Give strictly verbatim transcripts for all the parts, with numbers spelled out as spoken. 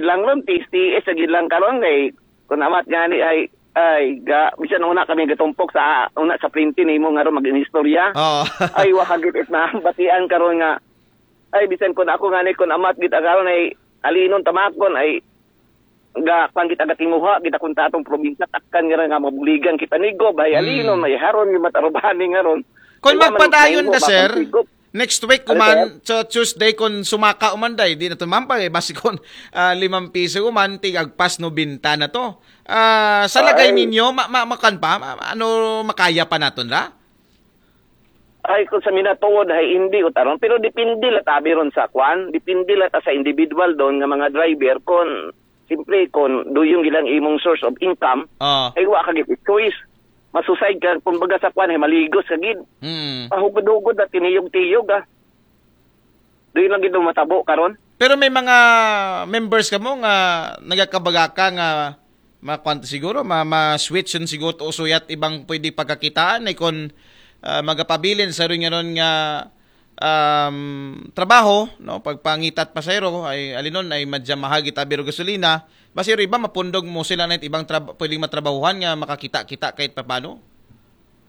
lang ron, T S T S, sa gid lang karon kay, kung amat gani ay, ay, ga, bisan una kami gatumpok sa, una sa printing nimo nga ron mag-inistorya. Oo. Ay, wa ka gid it na, batian karon nga, ay, bisan kun ako nga ni, kun amat gid karon ay, alinon tamakon, ay, ga, kwan gid aga tinguha, gid akong tatong probinsya, takkan nga nga mabuligan kita nigob, ay, alinon, ay, haron yung matarubani nga ron. Kung Ay, wa man magpadayon nahimo, na, sir, makang tigob. Next week, Ano, kuman, so Tuesday, kung sumaka uman day, di na tumambay, eh, basi kung ah, limang piso uman, tig agpas nobenta na to. Ah, sa lagay Ay. Ninyo, ma, ma, makan pa, ma, ano, makaya pa naton ra? Ay, kung sa minatuod, ay hindi ko taron. Pero depende la tabi ron sa kwan. Depende la ta sa individual doon nga mga driver. Kung, siyempre, kung do yung ilang imong source of income, Oh. ay wa ka gid choice. Masusay ka, kumbaga sa kwan, ay maligos ka gid. Hmm. Pahugod-hugod na tiniyog-tiyog, ah. Do yun lang gid ang matabo karon. Pero may mga members ka mo nga nagakabaga ka nga makuan siguro, ma, ma-switch yun siguro to usuyat ibang pwede pagkakitaan, eh, kung ah, magapabilin sa rin nga ron nga um, trabaho, no, pagpangitat pasahero ay alinon ay madya mahal gid abi ro gasolina. Basi ro iba mapundog mo sila na ibang trab- pwedeng matrabahuhan nga makakita-kita kahit papano.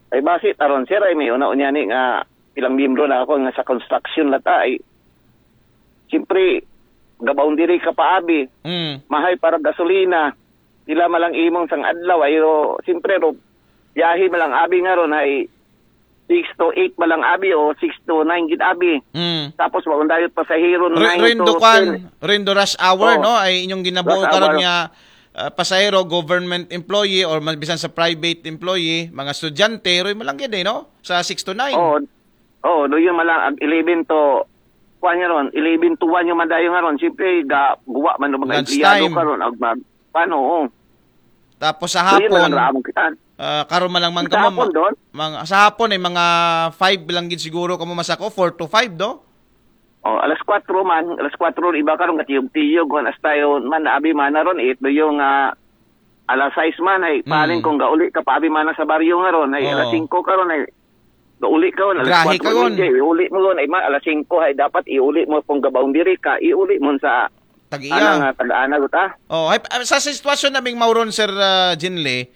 Ay basi taron, sir, ay may una unya ni nga ilang miyembro na ako nga sa construction lata ay siyempre gabaon diri ka paabi, Mm. mahay para gasolina, pila malang imong sang adlaw ay ro, siyempre ro biyahe malang abi nga ron ay six to eight malang abi o six to nine gid abi. Mm. Tapos maundayot pasahero Re- nine Rendo to kwan, ten. Rendo rush hour, Oh. No? Ay inyong ginabuo Rush karon hour. Nga ah, pasahero, government employee or mas bisan sa private employee, mga estudyante, roy malanggid eh, no? Sa six to nine. Oo. Oo, do yun malang ag eleven to kuan nga ron, eleven to one yung madayo nga ron. Siyempre, ga guwa man ng mga Lunch empleyado time. Karon, ag mag, paano, oo. Tapos sa Do yun hapon, malang raamon kita. ah, karon man lang man Sa kamo, hapon doon? Mga, sa hapon eh, mga five lang gid siguro kamo masako, four to five, do? Oh, alas kwatro man, alas kwatro iba karon gatiyog-tiyog kon hasta yun man abi man na ron it do yung ah, alas sais man ay paling Mm. kung gauli ka pa abi man na sa baryo nga ron ay Oo. alas singko karon ay gauli ka ron alas Grahe kwatro ka ron. media, iuli mo ron ay ma, alas singko ay dapat iuli mo kung gabaon diri ka, iuli mo sa Tag-iya. ana nga tag-ana ta. Oh, ay, ah, sa sitwasyon naming mauron, Sir ah, Jinle,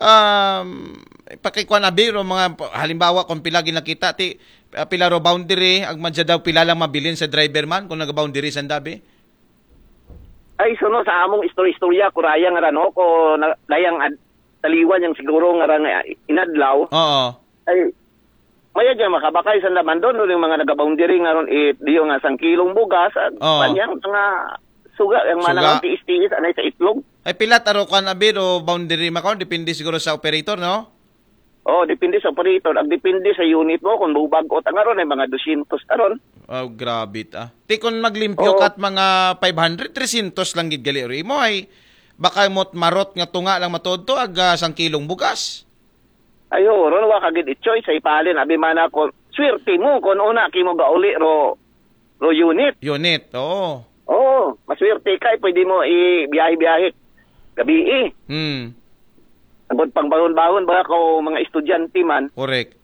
um, pakikuan abi ro mga halimbawa kung pila ginakita ti ah, pila ro boundary, ag madya daw pila lang mabilin sa driver man kung nag-boundary sa dabi. Ay, suno sa among istorya-istorya, kuraya nga rano ko na, dayang ad, taliwan yung siguro nga rang ah, inadlaw. Oo. Ay, maya dyan makabakay sa naman doon, yung mga nagaboundary nga ron, it, di yung nga sang kilong bugas, at Oo. panyang mga suga, yung Suga. manang tiis-tiis, anay sa itlog. Ay pila taro kan abi ro boundary makaw, depende siguro sa operator, no? Oh, depende sa operator. Ang depende sa unit mo, kung bubagot ang aron ay mga dosyentos taron. Oh, grabe ta. Ti kung maglimpyo Oo. Kat mga five hundred, three hundred lang gid gali ro imo ay baka mot marot nga tunga lang matodto ag ah, sang kilong bugas. Ay, oo, ron wa ka gid i-choice, ay palin, abi man ako, swerte mo, kung una kimo gauli ro, ro unit. Unit, oo. Oo, maswerte ka, eh, pwede mo i-biyahe-biyahe. Gabi eh. Hmm. Ang pangbangon-bangon ba ako mga estudyante man? Correct.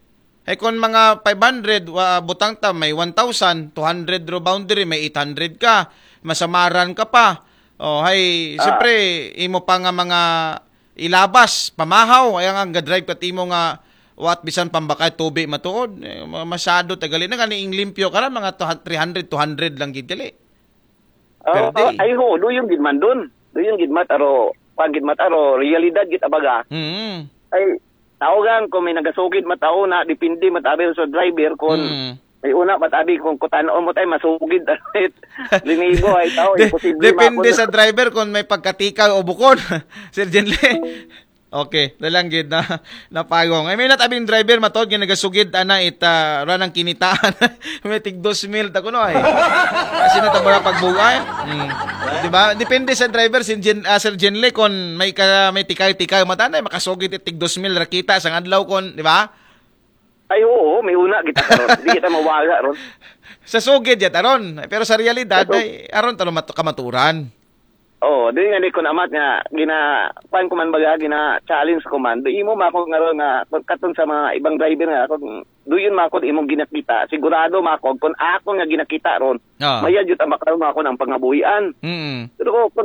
Ay kung mga five hundred, wa, butang ta, may one thousand, two hundred ro boundary, may eight hundred ka, masamaran ka pa. Oh, hay, Ah. siyempre, imo pa nga mga ilabas, pamahaw, ay nga drive kat imo nga, wat bisan pambakay tubi matuod. Eh, ma- masyado tagali na gani ing limpyo ka ra, mga two hundred, three hundred, two hundred lang gid gali. Oh, Per day. Ay, ho, do yung gid man dun. Do yung gid mat, aro, pag gid mat, aro, realidad gid abaga. Mm. Ay, tawagan ko may nagasugid matao na, depende matabi sa driver kung Mm. may una matabi kung kutanoon mo tayo, masugid. Linibo ay tao, De- imposible depende makon. Sa driver kung may pagkatikaw o bukod. Sir Jenle. Okay, dalang gid na napagong. Ay may natabing driver matod nga nagasugid ana it ah, ranang kinitaan. May tig dos mil ta kuno ay. Kasi natabara pagbugay. Hmm. Di ba? Depende sa driver si Jen, ah, Sir Jenle kung may ka, may tikay-tikay matanay makasugid it tig dos mil ra kita sang adlaw kon, di ba? Ay, oo, may una kita karon. Di kita mawala ron. Sa sugid yat aron, pero sa realidad Sa su- ay aron talo mat- kamaturan. Oo, di nga di ko namat nga gina pan ko man baga gina challenge ko man. Do imo mako nga ron nga katon sa mga ibang driver nga ako do yun mako imong ginakita. Sigurado mako kung ako nga ginakita ron. Ah. Maya jud ang makaroon mako ng pangabuhian. Mm. Pero kung